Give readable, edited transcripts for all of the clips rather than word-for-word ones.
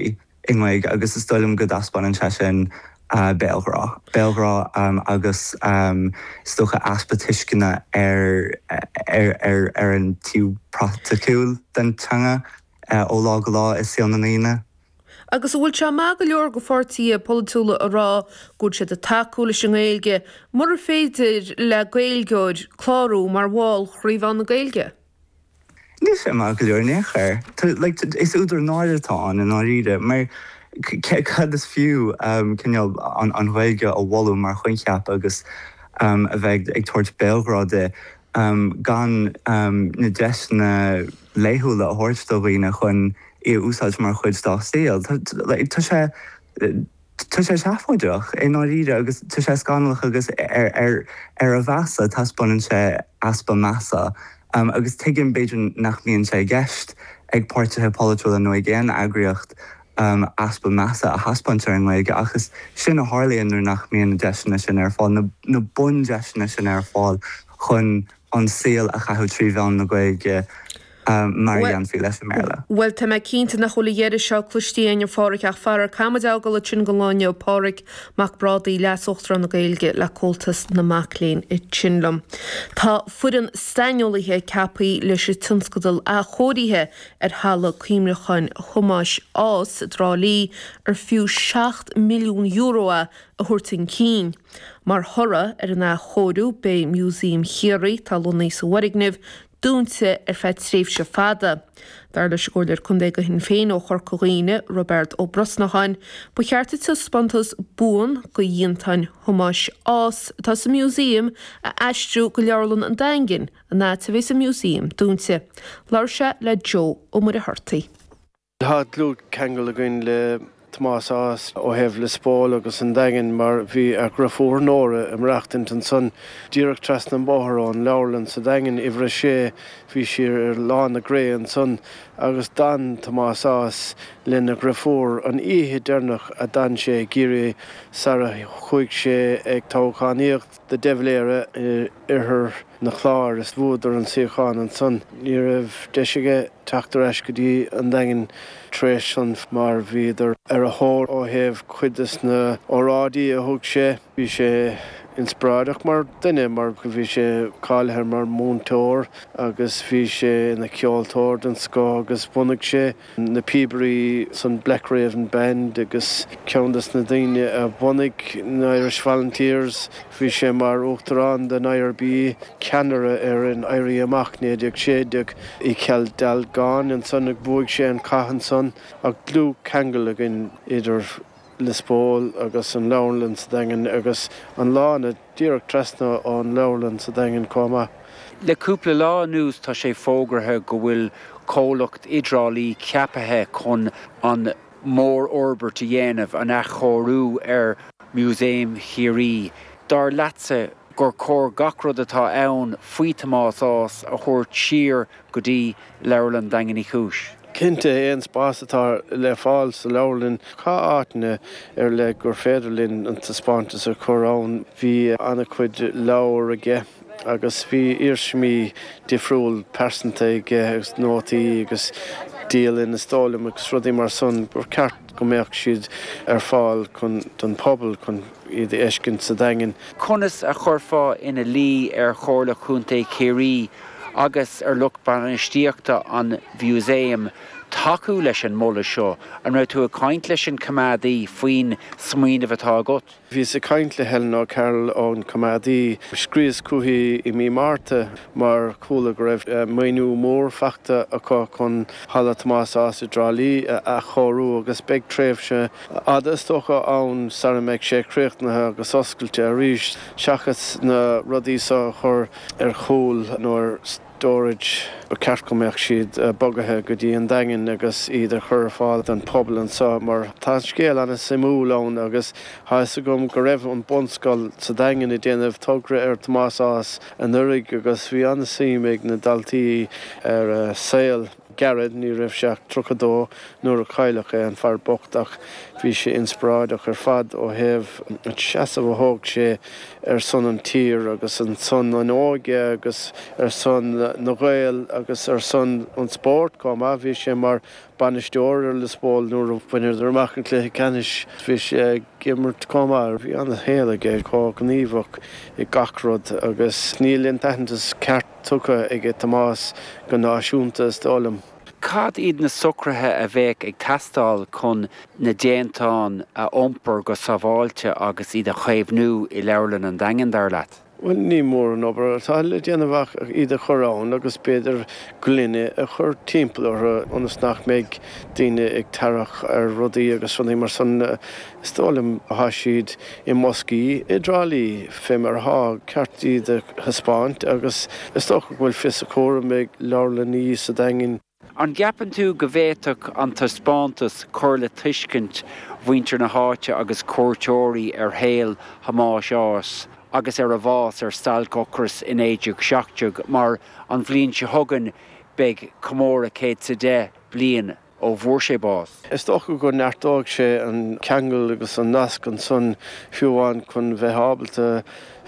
i nGaeilge agus is dóigh liom go dtaispeánann sé sin béalghrá. Béalghrá agus is dócha easpa tuisceana ar ar ar an taobh praiticiúil den teanga ó lá go lá i saol na ndaoine. Agus an bhfuil sé maith go leor go pháirtithe polaitiúla a rá go bhfuil siad ag tacú leis an nGaeilge mura féidir le Gaeilgeoir clárú mar bhall Chraobh na Gaeilge? Níl sé maith go leor in aon chor. Like, is údar náire atá ann i ndáiríre, mar cad is fiú cineál an Ghaeilge a mholadh mar choincheap agus a bheith ag tabhairt béalghrá di gan na deiseanna laethúla a thabhairt do dhaoine chun í a úsáid mar chuid dá saol. Tá sé tá sé seafóideach i ndáiríre agus tá sé scannalach agus ar ar ar a mheasa taispeánann sé easpa measa agus tuigim b'fhéidir nach mbíonn sé i gceist ag páirtithe polaitiúla nó ag aon eagraíocht easpa measa a thaispeáint ar an nGaeilge ach is sin a tharlaíonn nuair nach mbíonn na deiseanna sin ar fáil, na na bundeiseanna sin ar fáil chun an saol a chaitheamh 3 mheán na Gaeilge mar a dhéanfaí leis an mBéarla. Bhuel, tá mé cinnte nach bhfuil a dheireadh seo cloiste againn, a Pháraic, ach faraor, caithfimid a fhágáil ansin don lá inniu. Páraic Mac Brádaigh, Leas-Uachtarán na Gaeilge le Comhaltas na Mac Léinn ansin liom. Tá foireann saineolaithe ceaptha leis an tionscadal athchóirithe ar Halla Cuimhneacháin Thomáis Ághas i dTrá Lí, ar fiú €7 milliún é, a thabhairt chun cinn. Mar thoradh ar an athchóiriú, beidh Músaem Chiarraí, atá lonnaithe sa bhfoirgneamh, dúnta ar feadh tréimhse fada. Dar leis an gComhairleoir Contae do Shinn Féin ó Chorca Dhuibhne, Roibeard Ó Brosnacháin, ba cheart an taispeántas buan de dhéantáin Thomáis Ághas atá sa Mhúsaem a aistriú go Leabharlann an Daingin, an áit a bheas an Músaem dúnta. Labhair sé le Joe Ó Muircheartaigh. Tá dlúthcheangal againn le Tomás Ághas ó thaobh Lios Póil agus an Daingin mar bhí a dhriofúr Nóra ag maireachtaint ansan díreach trasna an bóthar ón leabharlann sa Daingean, uimhir a sé, bhí sí ar Lána Grey ansan agus d'fhan Tomás Ághas lena dhriofúr an oíche deireanach a d'fhan sé i gCiarraí sara chuaigh sé ag toghchánaíocht. do De Valera i oirthear na Chláir is bhuadar an suíochán ansan. Ní raibh deis aige teacht ar ais go dtí an Daingean tar éis san mar bhíodar ar a thóir ó thaobh cuid des na óráidí a thug sé. Bhí sé inspioráideach mar duine mar bhí sé cáilithe mar mhúinteoir agus bhí sé ina cheoltóir den scoth agus bhunaigh sé na píobairí san Black Raven Band agus ceann des na daoine a bhunaigh na Irish Volunteers. Bhí sé mar uachtarán den IRB, ceannaire ar an Éirí Amach 1916 i Cill Dalgáin ansan ag bhuaigh sé an cath ansan ach dlúthcheangal againn idir Lios Póil agus an Leabharlann sa Daingean agus an lána díreach trasna ón Leabharlann sa Daingean chomh maith. Le cúpla lá anuas tá sé fógraithe go bhfuil comhlacht i dTrá Lí ceapaithe chun an mhórfhorbairt a dhéanamh, an athchóiriú ar Mhúsaem Chiarraí. Dar leatsa gur chóir gach rud atá ann faoi Thomás Ághas a thabhairt siar go dtí Leabharlann Daingean Uí Chúis? Cinnte, aon spás atá le fáil sa leabharlann, tá áiteanna ar leith gur féidir linn an taispeántas a chur ann. Bhí an-chuid leabhar aige agus bhí iarsmaí difriúil pearsanta aige agus nótaí agus dialann is dóigh liom agus rudaí mar san gur ceart go mbeadh siad ar fáil chun don phobal chun iad a fheiscint sa Daingean. Conas a chuirfeá ina luí ar Chomhairle Chontae Chiarraí agus ar lucht bainistíochta an mhúsaeim tacú leis an moladh seo? An raibh tú ag caint leis an choimeádaí faoin smaoineamh atá agat? Bhíos ag caint le Helen O'Carroll ón choimeádaí. Scríos chuici i mí Márta mar chuala go raibh maoiniú mór faighte acu chun Halla Tomás Ághas i dTrá Lí a athchóiriú agus beidh tréimhse fhada is dócha ann sara mbeidh sé críochnaithe agus oscailte arís seachas na rudaí seo a chur ar chúl nó ar storage, ba cheart go mbeadh siad bogaithe go dtí an Daingean agus iad a chur ar fáil don phobal anseo mar tá an scéal an-suimiúil ann agus tá fhios agam go raibh an bunscoil sa Daingean ag déanamh togra ar Tomás Ághas anuraidh agus bhí an-suim ag na daltaí ar a saol. gairid, ní raibh sé ach 32 nuair a cailleadh é, an fear bocht, ach bhí sé inspioráideach ar fad ó thaobh an seasamh a thóg sé ar son an tír agus ar son an óige agus ar son na Gael agus ar son an spóirt chomh maith. Bhí sé mar bainisteoir ar Lios Póil nuair a bhaineadar amach an cluiche ceannais. Bhí sé ag imirt chomh maith. Bhí an-shaol aige, chomh gníomhach i gach rud agus níl an t-aitheantas ceart tugtha aige Tomás go náisiúnta is dóigh liom. Cad iad na socruithe a bheadh ag teastáil chun na déantáin a iompar go sábháilte agus iad a chaomhnú i Leabharlann an Daingin, dar leat? Bhuel, ní mór an obair atá le déanamh ach iad a chur ann agus b'fhéidir gloine a chur timpeall orthu ionas nach mbeidh daoine ag tarrac ar rudaí agus rudaí mar san. Is dóigh liom thá siad i mboscaí i dTrá Lí fé mar athá, ceart iad a thaispeáint agus is dócha go bhfuil fios a chúraim ag leabharlannaí sa Daingean. An gceapann tú go bhféadfadh an taispeántas cur le tuiscint mhuintir na háite agus cuairteoirí ar shaol Thomáis Ághas agus ar a bhás ar stailc ocrais i 1917 mar an bhliain seo chugainn beidh comóradh 110 bliain ó bhfuair sé bás? Is dócha go neartóidh sé an ceangal agus an nasc ansan fiú amháin chun bheith ábalta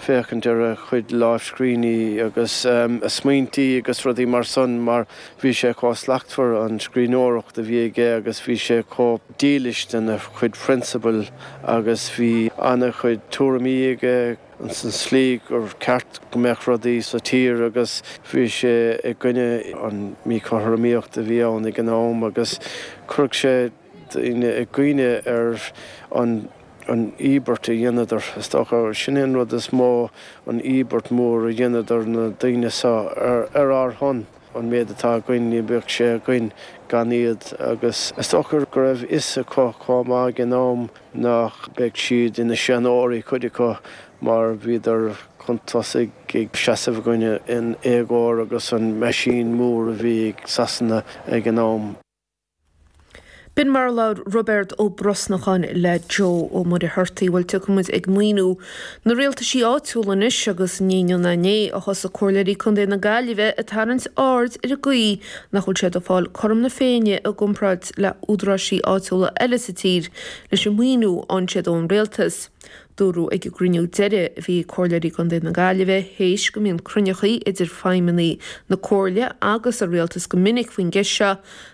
féachaint ar a chuid lámhscríbhinní agus a smaointí agus rudaí mar san mar bhí sé chomh slachtmhar an scríbhneoireacht a bhí aige agus bhí sé chomh dílis dona chuid prionsabail agus bhí ana-chuid tuairimí aige ins an tslí gur ceart go mbeadh rudaí sa tír agus bhí sé i gcoinne an míchothromaíocht a bhí ann ag an am agus chuirfeadh sé daoine i gcuimhne ar an an íobairt a dheineadar, is dócha. Sin é an rud is mó, an íobairt mhór a dheineadar na daoine seo ar ár shon. An méid atá againn, ní bheadh sé againn gan iad agus is dócha go raibh fhios acu chomh maith ag an am nach mbeadh siad ina seanóirí, cuid acu, mar bhíodar chun tosaigh ag seasamh i gcoinne an éagóir agus an meaisín mór a bhí ag Sasana ag an am. B'in mar a labhair Roibeard Ó Brosnacháin le Joe Ó Muircheartaigh. Bhuel, tiocfaidh muid ag maoiniú na rialtaisí áitiúla anois agus ní inniu ná inné a thosaigh Comhairleoirí Contae na Gaillimhe ag tarraingt aird ar an gcaoi nach bhfuil siad ag fáil cothrom na Féinne i gcomparáid le údaráisí áitiúla eile sa tír leis an maoiniú a fhaigheann siad ón rialtas. Dúradh ag an gcruinniú deiridh a bhí ag Comhairleoirí gContae na Gaillimhe théis go mbíonn cruinneachaí idir feidhmeannaigh na Comhairle agus an Rialtas go minic faoin gceist seo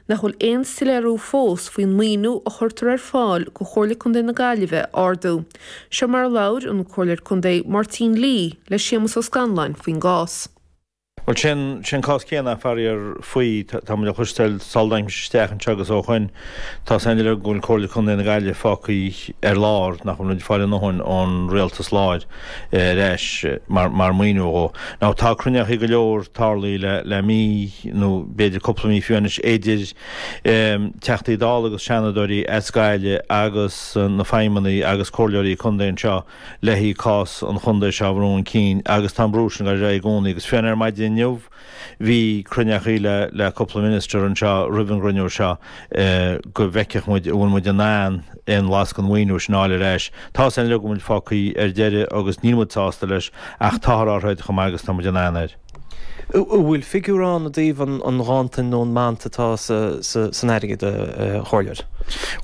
nach bhfuil aon soiléiriú fós faoin maoiniú a chuirtear ar fáil go Chomhairle Contae na Gaillimhe a ardú. Seo mar a labhair an Comhairleoir Contae Máirtín Lee le Séamus Ó Scanláin faoin gcás. Bhuel, sin, sin cás céanna, faraor, faoi, tá muid a chloisteáil sula dtáinig mise isteach anseo agus ó shoin, tá a fhios againn uilig go bhfuil Comhairle Contae na Gaillimhe fágtha ar lár, nach bhfuil muid ag fáil a ndóthain ón rialtas láir ar ais mar, mar maoiniú dhó. Now, tá cruinneachaí go leor tarlaithe le, le mí nó b'fhéidir cúpla mí fiú anois idir Teachtaí Dála agus Seanadóirí as Gaillimh agus na feidhmeannaigh agus comhairleoirí contae anseo, le haghaidh cás an chontae seo a bhrú chun cinn agus tá an brú sin ag dul ar aghaidh i gcónaí agus fiú ar maidin inniu bhí cruinneachaí le le cúpla minister anseo roimh an gcruinniú seo go bhfeicfeadh muid an bhfuil muid in ann aon bhlas den mhaoiniú sin a fháil ar ais. Tá a fhios againn uilig go bhfuil muid fágtha ar deireadh agus níl muid sásta leis ach táthar ár throid chomh maith agus tá muid in ann air. An bhfuil figiúr ann i dtaobh an ghanntain nó an mant atá san airgead, a Chomhairleoir?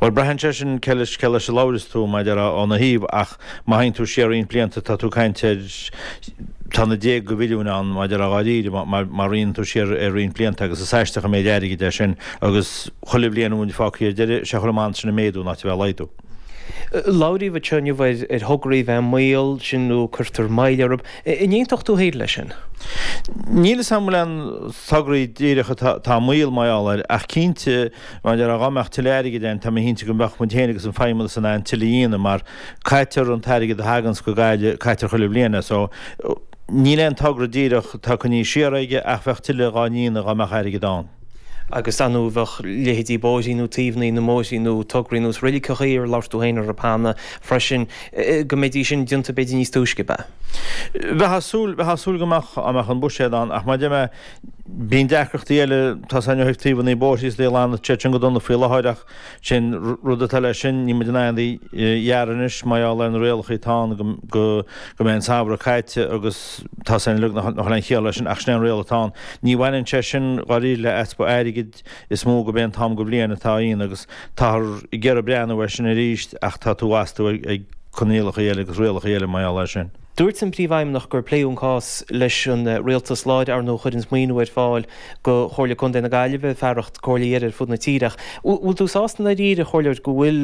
Bhuel, braitheann sé sin cé leis cé leis a labhras tú, mar a déarfá, óna thaobh, ach má théann tú siar roinnt blianta tá tú ag caint ar, tá na déaga mhilliúin ann, mar a déarfá dháiríre, má má rianann tú siar ar roinnt blianta agus is aisteach an méid airgid é sin agus chuile bhliain a bhfuil muid fágtha ar deireadh, sé chuile an mant sin ag méadú in áit a bheith ag laghdú. Labhraíodh anseo inniu ar thograí a bheith i mbaol, sin nó cuirtear moill orthu. An aontódh tú féin leis sin? Níl 'fhios a'm an bhfuil aon tograí díreach atá i mbaol mar gheall air, ach cinnte, mar a déarfá, dhá mbeadh tuilleadh airgid ann, tá mé cinnte go mbeadh muid féin agus an Feidhmeannas in ann tuilleadh a dhéanamh mar caitear an t-airgead a thaganns go Gaillimh, caitear chuile bhliain é. So, níl aon togra díreach atá coinnithe siar aige ach bheadh tuilleadh dhá ndéanamh dhá mbeadh airgead ann. Agus ar ndóigh bheadh leithéidí bóithrí nó taobhanna na mbóithrí nó tograí nós reiligeachaí ar labhair tú féin orthu cheana freisin, go mbeidís sin déanta b'fhéidir níos túisce, ab ea? Bheifeá ag súil, bheifeá ag súil go mbeadh, dá mbeadh an buiséad ann ach mar a deir mé. Bíonn deacrachtaí eile, tá 's againn ó thaobh taobhanna bóithre is iad a ghlanadh tá siad sin go dona faoi láthair ach sin rud atá leis sin, níl muid in ann iad a ghearradh anois mar gheall ar na rialacha atá ann go go mbeidh an samhradh caite agus tá 's againn uilig nach bhfuil aon chiall leis sin ach sin é an riail atá ann. Ní bhaineann sé sin dháiríre le easpa airgid, is mó gurb é an t-am go bhliain atá ann agus táthar ag iarraidh breathnú air sin arís ach tá tú astú ag coinníollacha eile agus rialacha eile mar gheall air sin. Dúirt an Príomhfheidhmeannach gur pléadh an cás leis an rialtas láir, ar ndóigh, a chuireanns maoiniú ar fáil do Chomhairle Contae na Gaillimhe, fearacht comhairlí eile ar fud na tíre. Ach bhfuil tú sásta i ndáiríre, a Chomhairleoir, go bhfuil.